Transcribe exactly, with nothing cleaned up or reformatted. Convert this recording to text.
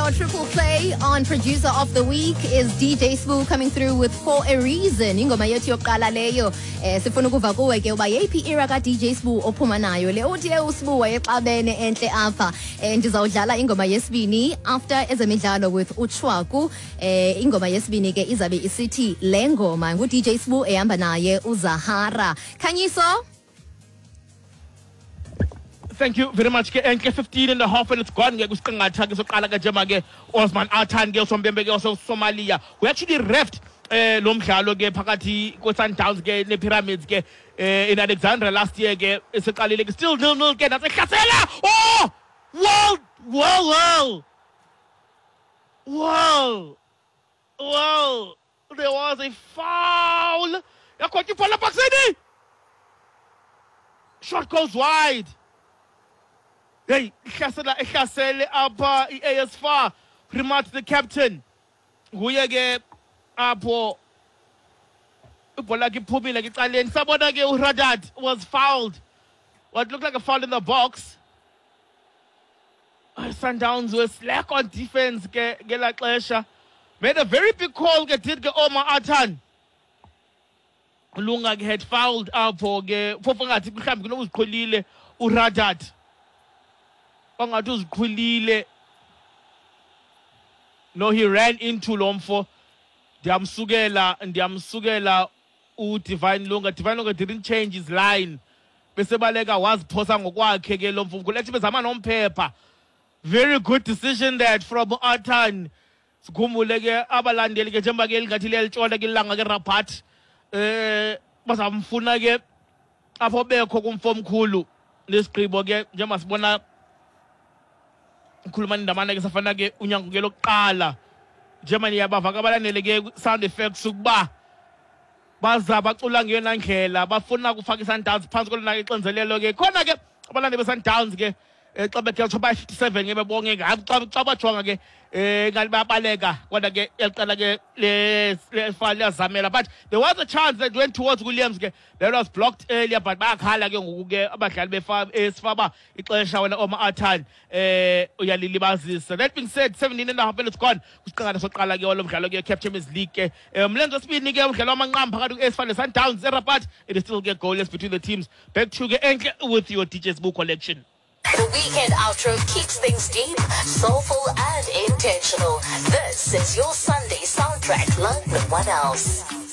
our triple play on Producer of the Week is D J Sbu coming through with "For a Reason". Ingoma yethu yokuqala leyo. Eh sifuna ukuva kuwe ke uba yeyiphi era ka D J Sbu ophuma nayo le. Uthi uSbu wayexabene enhle apha. Eh ndizawudlala ingoma yesibini after ezemidlalo with uChwaku. Eh ingoma yesibini ke izabe isithi le ngoma ngu D J Sbu ehamba naye uZahara. Khanyiso. Thank you very much ke enhle. fifteen and a half and it's gone ke kusiqingatha ke soqala ke njema ke Osman Artan ke usompempe ke Somalia. We actually refed eh lo mdlalo ke phakathi kwe-Sundowns ke ne-Pyramids ke eh in Alexandra last year ke. Esiqalile ke, still nil nil ke. Nasehlasela. Oh, well, well, well, well, well, there was a foul. Yakhotha ibhola boxini, shot goes wide. Hey, ihlasela, ihlasele apha i-A S F A R. Rimat, the captain, nguye ke apho. Ibhola ke iphumile ke ecaleni. Sabona ke uRadat was fouled, what looked like a foul in the box. Sundowns were slack on defense ke ngelaa xesha. Made a very big call ke, did ke Omar Atan. Lunga ke had fouled apho ke, phofu ngathi mhlawumbi kunokuziqhulile uRadat, wangathi uziqhulile. No, he ran into lo mfo. Ndiyamsukela, ndiyamsukela uDivine Lunga. Divine Lunga didn't change his line, bese baleka waziphosa ngokwakhe ke lo mfo kulethi bezama nomphepha. Very good decision that from Atan. Sikhumbule ke abalandeli ke njengoba ke lingathi liyalitshona ke ilanga ke Rabat, eh bazamfuna ke apho bekho kumfo omkhulu lesigqibo ke njengoba sibona ukhuluma ndamana ke safana ke unyango ke lokuqala. Njengoba niyabava ke abalandeli ke sound effects ukuba baza bacula ngeyona ndlela bafuna ukufaka iSundowns phantsi kolona ixinzelelo ke. Khona ke abalandeli beSundowns ke eh, xa bekhe bayi-fifty-seven ke bebonke, hayi, xa xa bajonga ke eh ngathi bayabaleka, kodwa ke yaqala ke le le liyazamela. But there was a chance that went towards Williams ke that was blocked earlier, but bayakhala ke ngoku ke abadlali befa esifaba ixesha wena Omar Atan eh uyalilibazisa. That being said, seventeen and a half minutes gone kusiqala soqala ke walo mdlalo ke CAF Champions League ke umlenze wesibini ke, umdlalo wamanqam phakathi kwe-A S F A R ne-Sundowns eRabat. It is still ke goalless between the teams. Back to ke Enhle with your D J Sbu collection. The weekend outro keeps things deep, soulful, and intentional. This is your Sunday soundtrack like no one else.